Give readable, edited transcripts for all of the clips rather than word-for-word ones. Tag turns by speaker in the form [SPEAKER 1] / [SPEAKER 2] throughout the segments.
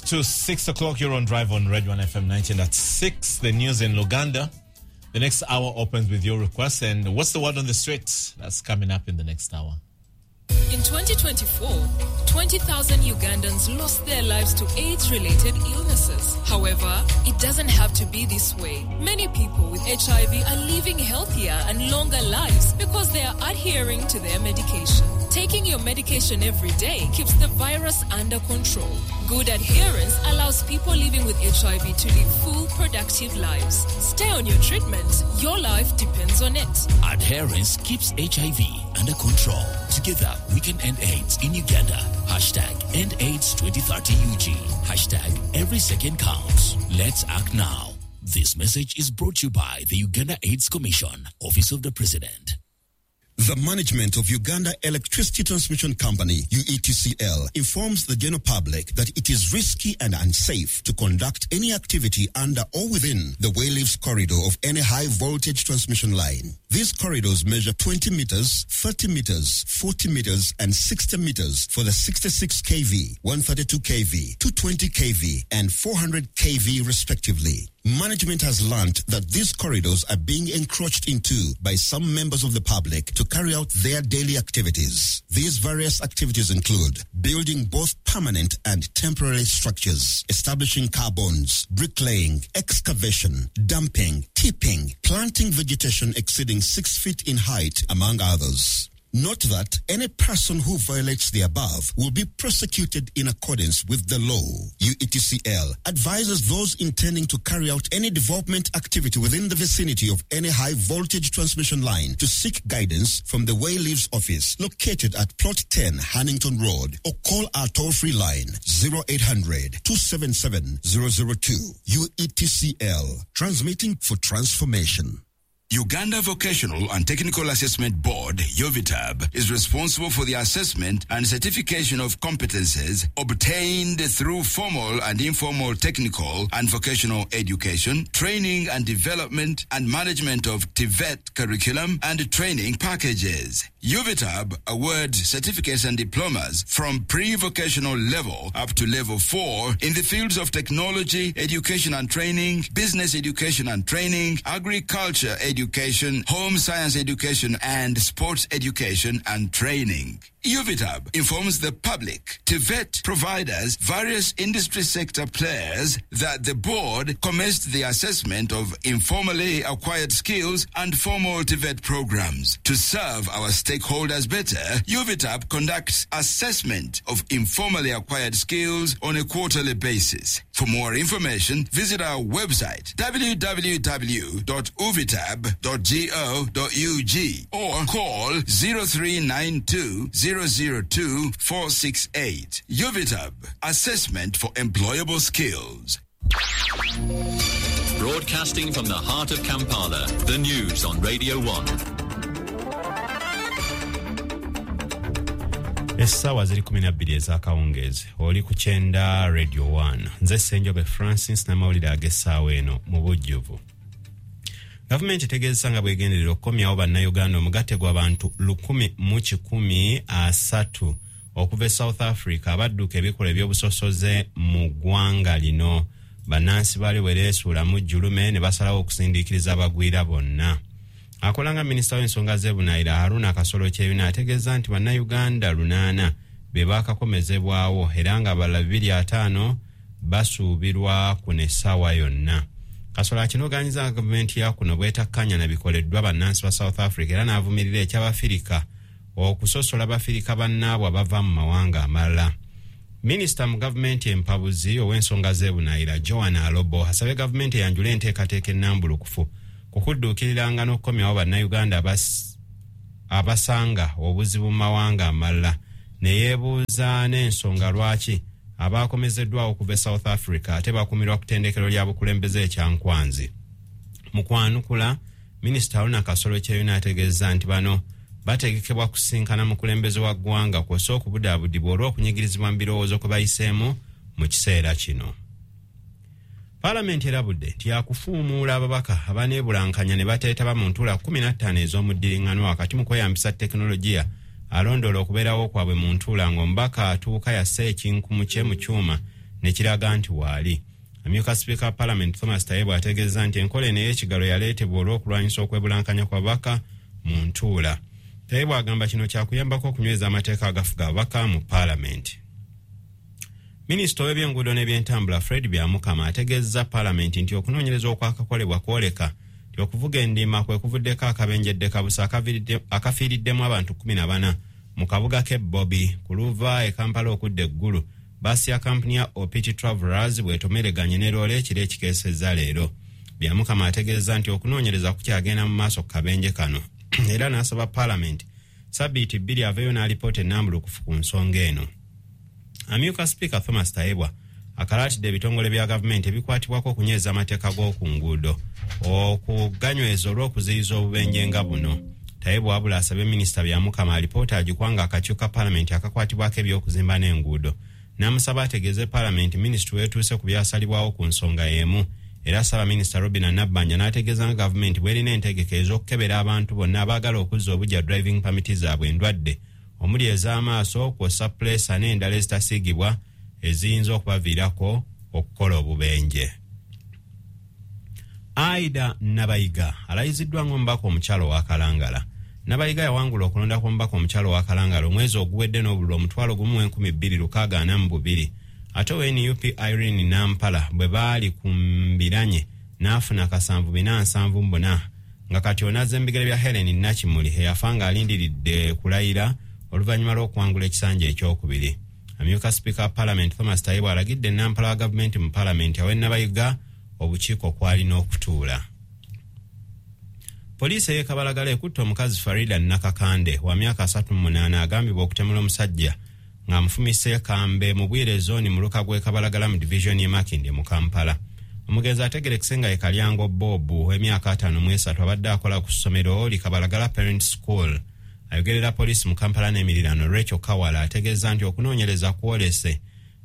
[SPEAKER 1] To 6 o'clock, you're on Drive on Red 1 FM 19.6, the news in Luganda. The next hour opens with your requests. And what's the word on the streets? That's coming up in the next hour.
[SPEAKER 2] In 2024, 20,000 Ugandans lost their lives to AIDS-related illnesses. However, it doesn't have to be this way. Many people with HIV are living healthier and longer lives because they are adhering to their medication. Taking your medication every day keeps the virus under control. Good adherence allows people living with HIV to live full, productive lives. Stay on your treatment. Your life depends on it.
[SPEAKER 3] Adherence keeps HIV under control. Together, we can end AIDS in Uganda. Hashtag End AIDS 2030 UG. Hashtag Every Second Counts. Let's act now. This message is brought to you by the Uganda AIDS Commission, Office of the President.
[SPEAKER 4] The management of Uganda Electricity Transmission Company, UETCL, informs the general public that it is risky and unsafe to conduct any activity under or within the wayleaves corridor of any high voltage transmission line. These corridors measure 20 meters, 30 meters, 40 meters, and 60 meters for the 66 kV, 132 kV, 220 kV, and 400 kV respectively. Management has learnt that these corridors are being encroached into by some members of the public to carry out their daily activities. These various activities include building both permanent and temporary structures, establishing carbons, bricklaying, excavation, dumping, tipping, planting vegetation exceeding 6 feet in height, among others. Note that any person who violates the above will be prosecuted in accordance with the law. UETCL advises those intending to carry out any development activity within the vicinity of any high voltage transmission line to seek guidance from the Wayleaves office located at Plot 10 Hannington Road, or call our toll-free line 0800 277 002. UETCL, transmitting for transformation.
[SPEAKER 5] Uganda Vocational and Technical Assessment Board, UVTAB, is responsible for the assessment and certification of competences obtained through formal and informal technical and vocational education, training and development, and management of TVET curriculum and training packages. UVTAB awards certificates and diplomas from pre-vocational level up to level 4 in the fields of technology, education and training, business education and training, agriculture education, home science education, and sports education and training. UVTAB informs the public, TVET providers, various industry sector players that the board commenced the assessment of informally acquired skills and formal TVET programs. To serve our stakeholders better, UVTAB conducts assessment of informally acquired skills on a quarterly basis. For more information, visit our website www.uvitab.go.ug or call 0392 002 468. UVTAB, assessment for employable skills.
[SPEAKER 6] Broadcasting from the heart of Kampala, the news on Radio 1.
[SPEAKER 7] Essaawa ziri 12 ez'akawungeezi, oli ku kyenda Radio 1. Nze Ssenjobe Francis n'amawulire ag'essaawa eno mu bujjuvu. Gavumenti etegeezesa nga bwegenderera okukomyawo bannayuganda omugatte gw'abantu 1,130 okuva e South Africa abadduka ebikolwa ebyobusosoze mu ggwanga lino. Bannansi baali bwereesuulamu jjulume ne basalawo okusindiikiriza abagwira bonna. Akola nga minisita w'ensonga z'ebunaayira Haruna Kasolo Kyeyune ategeeza nti bannayuganda 8 be baakakomezebwawo era nga abalala 205 basuubirwa kuno essaawa yonna. Kasolo akinogaanyiza nga gavumenti ya kuno bwetakkanya na bikoleddwa bannansi ba South Africa era n'avumirira eky'Abafirika okusosola Bafirika bannaabwe abava mu mawanga amalala. Minisita mu gavumenti empabuzi ow'ensonga z'ebunaayira Joan Alobo asabye gavumenti eyanjule enteekateeka ennambulukufu kukudduukiriranga n'okukomyawo bannayuganda abasanga obuzibu mu mawanga amalala, ne yeebuuza n'ensonga lwaki abaakomezeddwawo okuva e South Africa ate bakumirwa ku ttendekero lya bukulembeze ekyankwanzi. Mu kwanukula, Minisita Haruna Kasolo Kyeyune ategeeza nti bano bategekebwa kusinkana mukulembeze wa ggwanga kw'ossa okubudaabudibwa olw'okunyigirizibwa mu birowoozo kwe bayiseemu mu kiseera kino. Paalamenti erabudde nti yakufuumuula ababaka abaneebulankanya ne bateetaba mu ntuula 15 ez'omuddiriŋŋano wakati mu kweyambisa tekinologiya alondoola okubeerawo kwabwe mu ntuula ng'omubaka atuuka yassa ekinkumu kye mu kyuma ne kiraga nti waali. Amyuka sipiika wa Paalamenti Thomas Tayebwa ategeeza nti enkola eno ey'ekigalo yaleetebwa olw'okulwanyisa okwebulankanya kw'ababaka mu ntuula. Tayebwa agamba kino kyakuyambako okunyweza amateeka agafuga ababaka mu Paalamenti. Minisita w'ebyenguudo n'ebyentambula Fred Byamukama ategeezezza Paalamenti nti okunoonyereza okwakakolebwa kwoleka nti okuvuga endiima kwe kuvuddeko akabenje ddekabusa akafiiriddemu abantu 14 mu kabuga k'e Bobi ku luva e Kampala okudda eggulu. Baasi ya kampuni ya OPT Travelers bw'etomereganye ne loole ekiro ekikeesezza leero. Byamukama ategeezezza nti okunoonyereza kukyagenda mu maaso ku kabenje kano era n'asaba Paalamenti sabbiiti 2 aveeyo n'alipoota ennambulukufu ku nsonga eno. Amyuka sipiika Thomas Tayebwa akalaatidde ebitongole bya gavumenti ebikwatibwako okunyweza amateeka g'oku nguudo okuganyweza olw'okuziyiza obubenje nga buno. Tayebwa wabula asabye minisita Byamukama alipoota agikwanga akakiiko ka Paalamenti akakwatibwako eby'okuzimba n'enguudo, n'amusaba ategeeze Paalamenti minisitule weetuuse ku byasalibwawo ku nsonga y'emu. Era ssaabaminisita Robina Nabbanja n'ategeeza nga gavumenti bw'erina entegeka ez'okukebera abantu bonna abaagala okuzza obujja driving permit zaabwe endwadde omuli ez'amaaso kw'ossa puleesa n'endala ezitasiigibwa eziyinza okubaviirako okukola obubenje. Aida Nabayiga alayiziddwa ng'omubaka omukyalo wa Kalangala. Nabayiga yawangula okulonda kw'omubaka omukyalo wa Kalangala omwezi oguwedde n'obululu 1,262. Ate owa NUP Irene Nampala bwe baali ku mbiranye n'afuna 774 nga kati onazza embigere bya Helen Nakimuli eyafa ng'alindiridde kulayira oluvannyuma lw'okuwangula ekisanja ekyokubiri. Amyuka sipiika wa Paalamenti Thomas Tayebwa alagidde Nampala wa gavumenti mu Paalamenti awe Nabayiga obukiiko kwalina okutuula. Poliisi ey'e Kabalagala ekutte omukazi Farida Nakakande wa myaka 38 agambibwa okutemula omusajja ng'amufumise kambe mu Bwire zooni mu luka gw'e Kabalagala mu divisioni y'e Makindye mu Kampala. Omugenzi ategerekese nga ye Kalyango Bob ow'emyaka 53 abadde akola ku ssomero li Kabalagala Parent School. Ayogerera poliisi mu Kampala n'emiriraano Rachel Kawala ategeeza nti okunoonyereza kwolese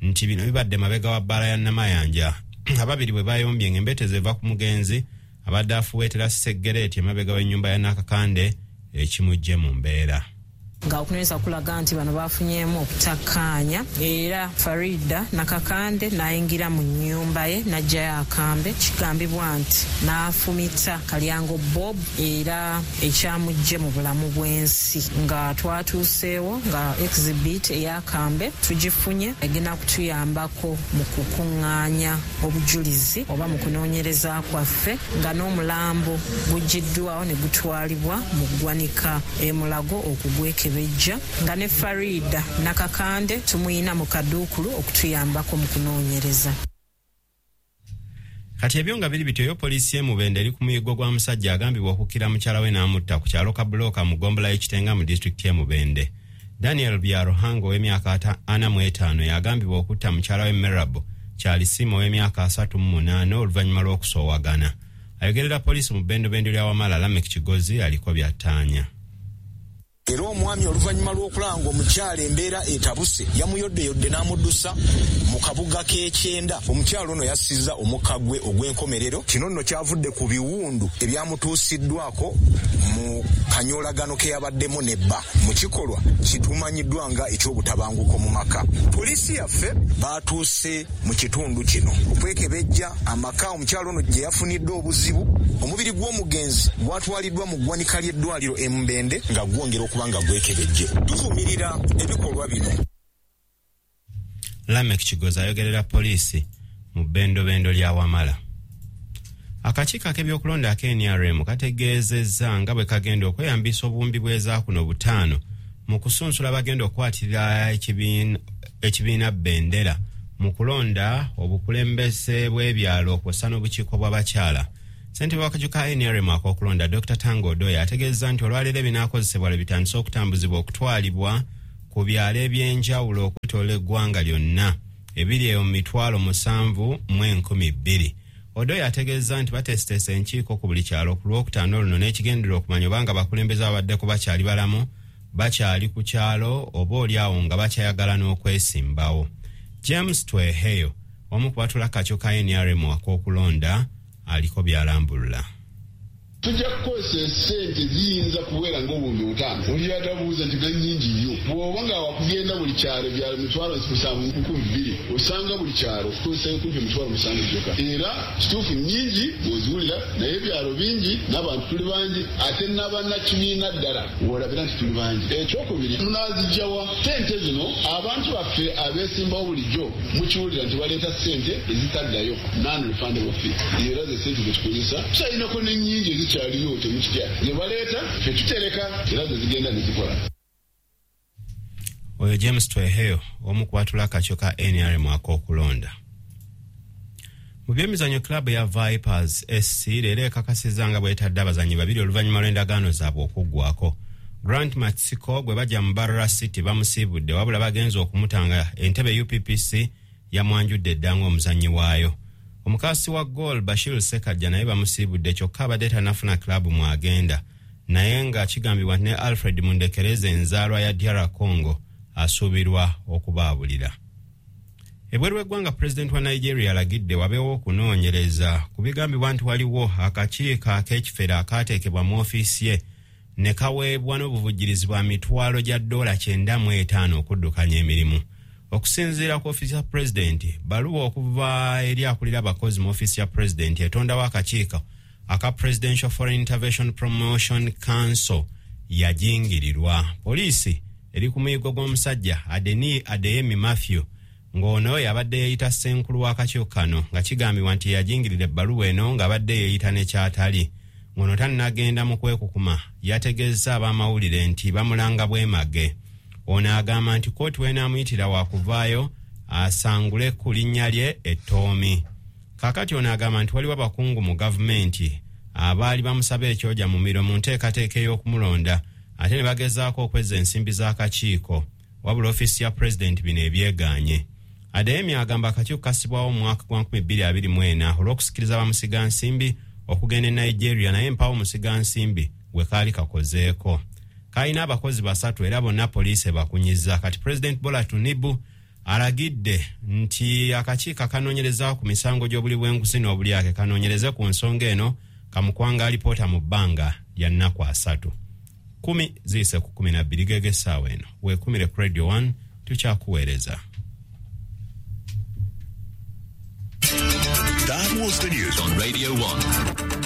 [SPEAKER 7] nti bino bibadde mabega wa bbaala ya Namayanja. Ababiri bwe bayombye ng'embetezi eva ku mugenzi abadde afuweetera seggereeti emabega w'ennyumba ya Nakakande ekimujje mu mbeera.
[SPEAKER 8] Nga okunoonyereza kulaga nti bano bafunyeemu okutakkaanya era Farida Nakakande n'ayingira mu nnyumba ye n'aggyayo akambe, kigambibwa nti n'afumita Kalyango Bob era ekyamuggye mu bulamu bw'ensi. Nga twatuuseewo nga exhibit ey'akambe tugifunye egenda kutuyambako mu kukuŋŋaanya obujulizi oba mu kunoonyereza kwaffe, nga n'omulambo guggyiddwawo ne gutwalibwa mu ggwanika e Mulago okugwekebejja, nga ne Farida Nakakande tumuyina mu kaduukulu okutuyambako mu kunoonyereza.
[SPEAKER 7] Kati ebyo nga biri bityo, yo poliisi y'e Mubende eri ku muyiggo gwa musajja agambibwa okukkira mukyala we n'amutta ku kyalo Kabulooka mu ggombolola y'Ekitenga mu disitulikiti y'e Mubende. Daniel Byaruhanga ow'emyaka 45 yagambibwa okutta mukyala we Merab Kyalisiima ow'emyaka 38 oluvannyuma lw'okusoowagana. Ayogerera poliisi mu bbendobendo lya Wamala Lamek Kigozi aliko byattaanya.
[SPEAKER 9] Era omwami oluvannyuma lw'okulanga omukyala embeera etabuse yamuyoddeyodde n'amuddusa mu kabuga k'ekyenda. Omukyala ono yassizza omukka gwe ogw'enkomerero. Kino nno kyavudde ku biwundu ebyamutuusiddwako mu kanyoolagano ke yabaddemu ne bba mu kikolwa kitumanyiddwa nga eky'obutabanguko mu maka. Poliisi yaffe baatuuse mu kitundu kino okwekebejja amaka omukyala ono gye yafunidde obuzibu. Omubiri gw'omugenzi gwatwaliddwa mu ggwanika ly'eddwaliro e Mubende nga gwongera kubanga gwekebejje. Tuvumirira ebikolwa bino.
[SPEAKER 7] Lamek Kigozi ayogerera poliisi mu bbendobendo lya Wamala. Akakiiko ak'ebyokulonda aka NRM kategeezezza nga bwe kagenda okweyambisa obuwumbi bw'ezaakuno 5 mu kusunsula bagenda okukwatirira ekibiina bendera mu kulonda obukulembeze bw'ebyalo kw'ossa n'obukiiko bw'abakyala. Ssentebe w'akakiiko ka NRM ak'okulonda Dr. Tango Odoya ategeezezza nti olwaleero ebinaakozesebwa lwe bitandise okutambuzibwa okutwalibwa ku byalo eby'enjawulo okwetoloola eggwanga lyonna ebiri eyo mu 7,002. Odoya ategeezezza nti bateeseteese enkiiko ku buli kyalo ku Lwokutaano luno n'ekigendererwa okumanya obanga abakulembeze ababaddeko bakyali balamu, bakyali ku kyalo oba oliawo nga bakyayagala n'okwesimbawo. James Tweheyo omu ku batuula akakiiko ka NRM ak'okulonda aliko byalambulula.
[SPEAKER 10] Tujja kukozesa essente ziyinza kuwera ng'obuhumbi 5. Oli yatabuuza nti ga nnyingi nnyo. Bw'oba nga wakugenda buli kyalo byalo 7,200 osanga buli kyalo kukozesa kumpi 7,000 gyokka. Era kituufu nnyingi bw'oziwulira, naye ebyalo bingi n'abantu tuli bangi, ate n'abannakibiina ddala w'olabira nti tuli bangi. Ekyokubiri, munaazijjawa ssente zino? Abantu baffe abeesimbawo bulijjo mukiwulira nti baleeta ssente ezitaddayo, non-refundable fee. Era ze ssente ze tukozesa, tukyayinako n'ennyingi ezikyaliyo, temukitya, ze baleeta ffe tutereka era ze zigenda ne zikola.
[SPEAKER 7] Oyo James Tweheyo, omu ku batula akakiiko ka NRM ak'okulonda. Mu byemizannyo, club ya Vipers SC leero ekakasizza nga bwetadde abazannyi babiri oluvannyuma lw'endagaano zaabwe okuggwako. Grant Matsiko gwe bajja mu Mbarara City bamusiibudde, wabula bagenza okumutanga entebe UPPC yamwanjudde edda ng'omuzannyi waayo. Omukasi wa goal Bashir Sekajja naye bamusiibudde, kyokka abadde tannafuna club mwagenda, naye nga kigambibwa nti ne Alfred Mundekereza, enzaalwa ya DR Congo, asuubirwa okubaabulira. Ebweru w'eggwanga, pulezidenti wa Nigeria alagidde wabeewo okunoonyereza ku bigambibwa nti waliwo akakiiko ak'ekifere akaateekebwa mu ofiisi ye ne kaweebwa n'obuvujjirizi bwa mitwalo gya ddoola 95 okuddukanya emirimu. Okusinziira ku ofiisi ya pulezidenti, baluwa okuva eri akulira abakozi mu ofiisi ya pulezidenti etondawo akakiiko aka Presidential Foreign Intervention Promotion Council yajingirirwa. Poliisi eri ku muyigo gw'omusajja Adeni Adeyemi Matthew, ng'ono yabadde yeeyita ssenkulu w'akakiiko kano, nga kigambibwa nti yajingirira ebbaluwa eno ng'abadde yeeyita ne kyatali. Ng'ono tannagenda mu kwekukuma, yategeezza ab'amawulire nti bamulanga bwemage. Ono agamba nti kooti w'enaamuyitira wakuvaayo asangule ku linnya lye ettoomi. Kaakati ono agamba nti waliwo abakungu mu gavumenti abaali bamusaba ekyoja mu miro mu nteekateeka ey'okumulonda, ate ne bagezaako okwezza ensimbi z'akakiiko, wabula ofiisi ya pulezidenti bino ebyegaanye. Adeyemi agamba akakiiko kasibwawo mu mwaka gwa 2024 olw'okusikiriza bamusigansimbi okugenda e Nigeria, naye mpawo musigansimbi gwe kaali kakozeeko. Kalina abakozi basatu era bonna poliisi ebakunyiza. Kati pulezidenti Bola Tinubu alagidde nti akakiiko akanoonyereza ku misango gy'obuli bw'enguzi n'obulyake kanoonyereze ku nsonga eno, kamukwanga alipoota mu bbanga lya nnaku 30. 12:50 gege essaawa eno. Weekumire ku Radio 1, tukyakuweereza.
[SPEAKER 6] That was the news on Radio 1.